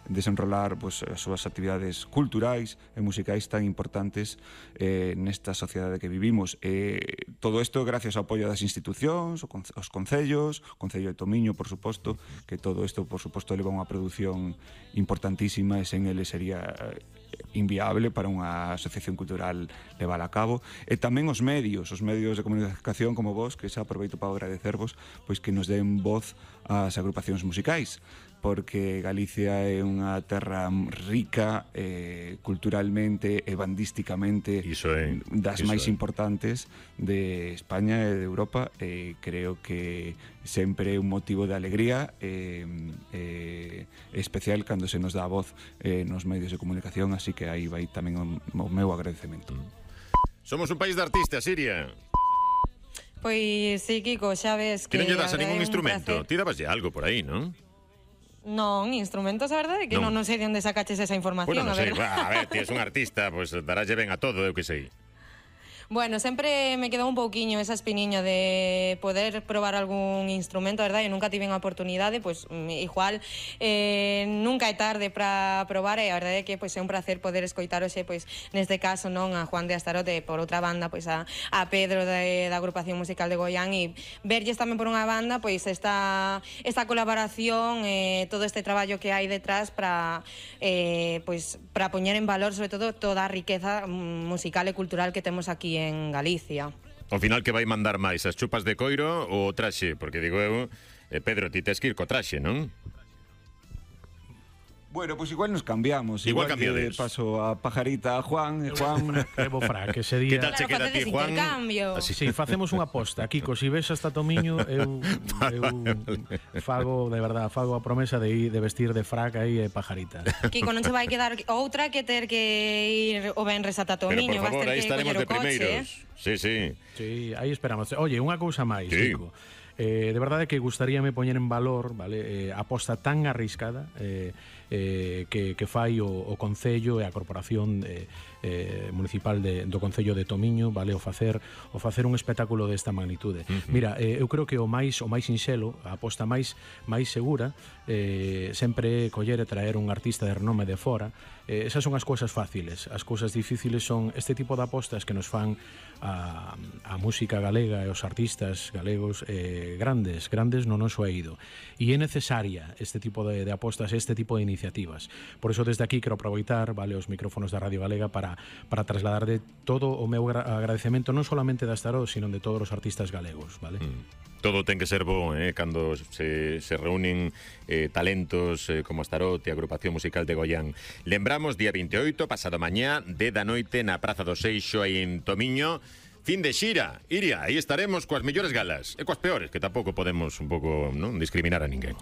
desenrolar pues, as súas actividades culturais e musicais tan importantes nesta sociedade que vivimos. Todo isto gracias ao apoio das institucións, os concellos, o Concello de Tomiño, por suposto, que todo isto, por suposto, leva unha produción importantísima e sen ele sería inviable para unha asociación cultural levar a cabo. E tamén os medios de comunicación como vos, que xa aproveito para agradecervos, pois que nos den voz ás agrupacións musicais, porque Galicia é unha terra rica culturalmente e bandísticamente, das máis importantes de España e de Europa, e creo que sempre é un motivo de alegría especial cando se nos dá a voz nos medios de comunicación, así que aí vai tamén o meu agradecemento. Somos un país de artistas, Iria. Pois sí, Kiko, xa ves que... Ti non lle das a ningún instrumento? Ti dabaslle algo por aí, non? Non, instrumentos, a verdade é que non sei de onde sacaches esa información. Bueno, non sei, a ver, ti és un artista, pois darálle ben a todo, eu que sei. Bueno, sempre me quedou un pouquiño esa espiniña de poder probar algún instrumento, a verdade, eu nunca tive a oportunidade, pois igual nunca é tarde para probar, e a verdade é que pois é un placer poder escoitar hoxe, pois neste caso non a Juan de Astarote, por outra banda pois a Pedro da agrupación musical de Goián, e verlles tamén por unha banda pois esta colaboración, todo este traballo que hai detrás para pois para poñer en valor sobre todo toda a riqueza musical e cultural que temos aquí en Galicia. Ao final, que vai mandar máis, as chupas de coiro ou o traxe? Porque digo eu, Pedro, ti tes que ir co traxe, non? Bueno, pues igual nos cambiamos. Igual cambiades. Paso a Pajarita a Juan. Juan... Levo frac, ese día... Que tal che queda a ti, Juan? Así, sí, facemos unha aposta. Kiko, si ves hasta Tomiño, eu fago, de verdad, fago a promesa de vestir de frac aí e Pajarita. Kiko, non se vai quedar outra que ter que ir o venres ata Tomiño. Pero, por favor, aí estaremos de primeiros. Sí, sí. Sí, aí esperamos. Oye, unha cousa máis, Kiko. De verdade que gustaríame poñer en valor, vale, a aposta tan arriscada que fai o Concello e a Corporación Municipal do Concello de Tomiño, vale, o facer un espectáculo desta magnitude. Mira, eu creo que o máis sinxelo, a aposta máis segura, sempre coller e traer un artista de renome de fora. Esas son as cousas fáciles. As cousas difíciles son este tipo de apostas que nos fan a música galega e os artistas galegos grandes no noso eido. E é necesaria este tipo de apostas, este tipo de iniciativas. Por eso desde aquí quero aproveitar, vale, os micrófonos da Radio Galega para trasladar de todo o meu agradecemento non solamente da Astaró, sino de todos os artistas galegos, vale? Todo ten que ser bo, cando se reúnen talentos como Astarote e a agrupación musical de Goián. Lembramos, día 28, pasado mañá, 10 da noite, na Praza do Seixo, aí en Tomiño. Fin de xira. Iria, aí estaremos coas mellores galas e coas peores, que tampouco podemos un pouco non discriminar a ninguén.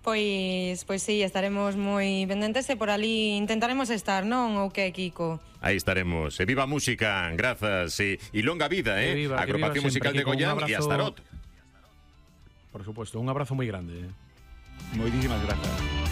Pois sí, estaremos moi pendentes e por ali intentaremos estar, non? Ou que, Kiko? Aí estaremos. E viva a música, grazas, e longa vida, viva, a agrupación musical de Goián e Astarot. Por supuesto, un abrazo moi grande. Moitísimas grazas.